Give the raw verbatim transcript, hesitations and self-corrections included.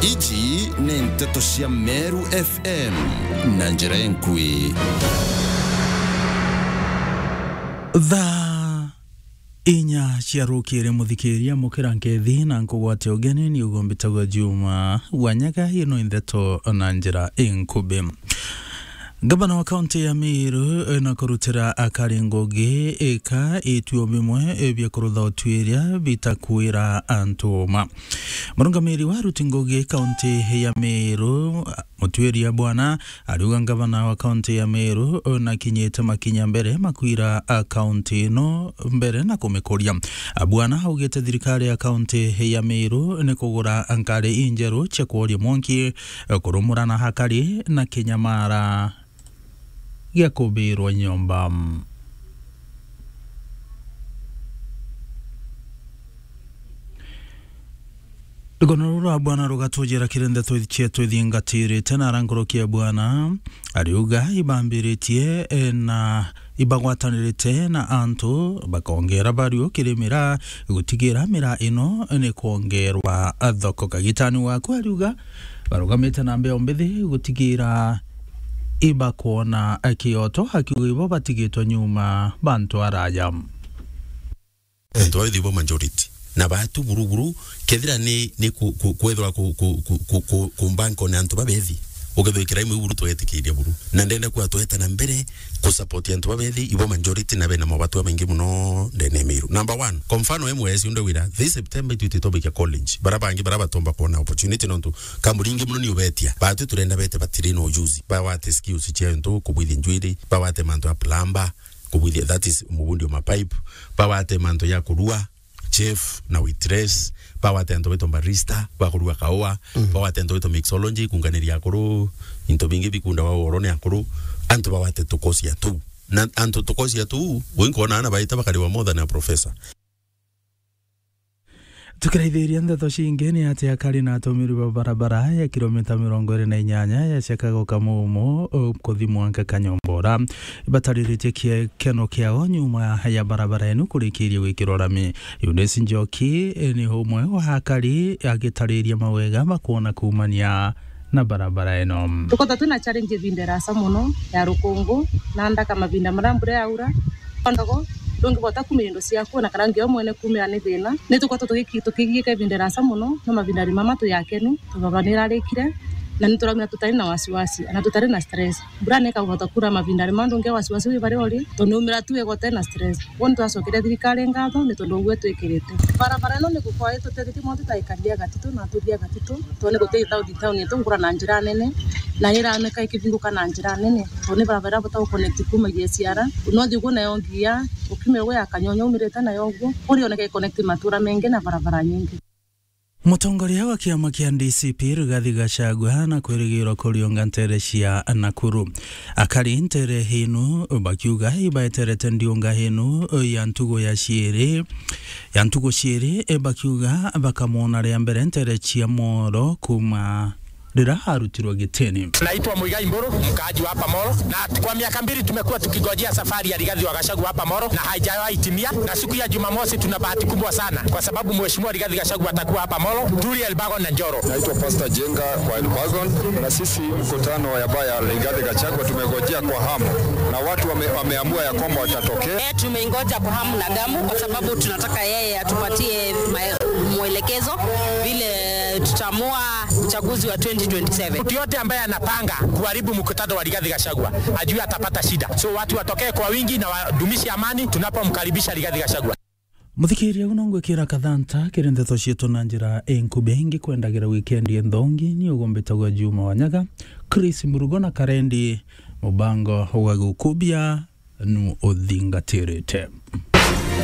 Iji ni nteto cia Meru F M na njira enkui. Thaa inya cia rukiri, muthikiria, mukira nkethi na nkugwate ugeni, ni ugo mbitagwa Juma Wanyaga. Ino ndeto na njira inkubi. Ngavana wa kaunti ya Meru, eh, na kurutira akari ngugi ika ituo bimwe, eh, bia kurutha utuiria bitakwira antu uma. Murungamiri wa aruti ngugi kaunti ya Meru, Mutuiria Bwana, ariuga ngavana wa kaunti ya Meru, eh, nakinyite makinya mbere makwira, ah, kaunti ino mbere na kumikuria. Ah, Bwana augite thirikari ya kaunti ya Meru ni kugura nkari injeru cia kworia mwanki, eh, kurumura na hakari na kinyamara gia kubirwa nyomba. Rugono ruru rwa Bwana rugatujira kiri ndeto cietu ithingatirite na ara nkuruki ya Bwana ariuga ibambiritie, eh, na ibagwatanirite na antu bakongera bariu kiri miraa gutigira miraa ino ni kwongerwa thoko. Kagitani waku ariuga barugamite na mbeo mbithi gutigira ibakwona kioto, akiuga ibo batigitwe nyuma bantu araja. Antu babethi bo majority. Na batu buru buru, kethira ni, ni ku, ku, kwethirwa ku, ku, ku, ku, ku, ku bank on antu babethi. Ukethirwa ikira imwe buru twetikiria buru. Na ndenda kwa tweta na mbere ku support antu babethi, ibo majority na bena mabatu maingi muno ndene ya Meru. Number one, kwa mfano M S unde wira, this September itu ititobikia college. Bara bangi bara batomba kuona opportunity nontu kambuni ingi muno ni ubetia. Batu turenda bete batiri na ujuzi. Bawate skills cia ntu kubwithia njwiri, bawate mantu ya plumber, kubwithia, that is, mubundi wa mapipe, bawate mantu ya kurua, chef na waitress, bawate antu baitwa barista, bakurua kaua, bawate antu baitwa mixology, kunganiria akuru, into bingi bikunda wa oro ni akuru, antu bawate tukosia tu. Na antu tukosia tu, winkona ana baita bakariwa more than a professor. Tukiraithiria ndeto cingi, ni ati akari na atumiri ba barabara ya kilomita mirongo iri na inyanya ya Chicago Kamumo, uh, kuthi mwanka Kanyombora, ibatariritie kiekeno kiao nyuma ya barabara enu kurikiria gwikirwa rami. Eunice Njoki, eh, ni umwe wa akari agitariria mawega makwona kuumania na barabara ino. Tukoretwe twina challenge ibinda irasa mono ya rukungu na ndaka, mabinda maria mbura yaura, ndogo, ndungibota kumira indo ciaku, na kana nginya mwene kumira ni thina. Ni tukoretwe tugiki-, tukigiika ibinda irasa mono, no mabinda ari mama twi akenu, tubaba ni irarikire, na ni turaumira tutari na wasiwasi, na tutari na stress. Mbura ni ikabota kura mabinda ari ma ndungi wasiwasi wi baria uri, tondu ni umira tu wega utai na stress. Kwou ni twacokere thirikari ngatho ni tondu uguo itwikirite. Barabara ino ni gukorwa itutethitie mono tutaikaria gatitu na tuthia gatitu, tondu ni guti town, town yetu ngura na njira nene, na ni iraneka ikibinguka na njira nene, tondu ni barabara bota guconnect kuma G S R, unothi uguo nayo ngia, ukiumira uguo ya Kanyonya umirite nayo uguo, kuri oneka iconnect matura mengi na barabara nyingi. Mutongoria wa kiama kia D C P Rigathi Gachagua na kwirigirwa kuriunga ntere cia Nakuru. Akari ntere inu bakiuga ibaeterete ndiunga inu ya ntugo ya ciiri, ya ntugo ciiri, bakiuga bakamwona ria mbere ntere cia Moro kuma riria arutirwe gitini. Naitwa Muigai Mburu, mkaaji wa hapa Moro, na kwa miaka mbili tumekuwa tukigojea safari ya Rigathi wa Gachagua hapa Moro na haijawahi timia, na siku ya Jumamosi tuna bahati kubwa sana kwa sababu Mheshimiwa Rigathi Gachagua atakuwa hapa Moro, Turi, Elbagon na Njoro. Naitwa Pastor Jenga wa Elbagon, na sisi mkutano ya baya Rigathi Gachagua tumegojea kwa hamu, na watu wame-, wameamua ya kwamba watatokea. Eh, tumeingoja kwa hamu na gamu kwa sababu tunataka yeye atupatie mae-, mwelekezo vile tutaamua uchaguzi wa twenty twenty-seven. Mtu yote ambaye anapanga kuharibu mkutano wa Rigathi Gachagua ajue atapata shida. So watu watokee kwa wingi na wadumishe amani tunapomkaribisha Rigathi Gachagua. Muthikiria, uno ngwikira kathanta kiri ndeto cietu na njira inkubi. Ingi kwendagira wikendi enthongi, ni ugumbitagwa Juma Wanyaga, Chris Murugo na Karendi, mubango wa gukubia nu uthingatirite.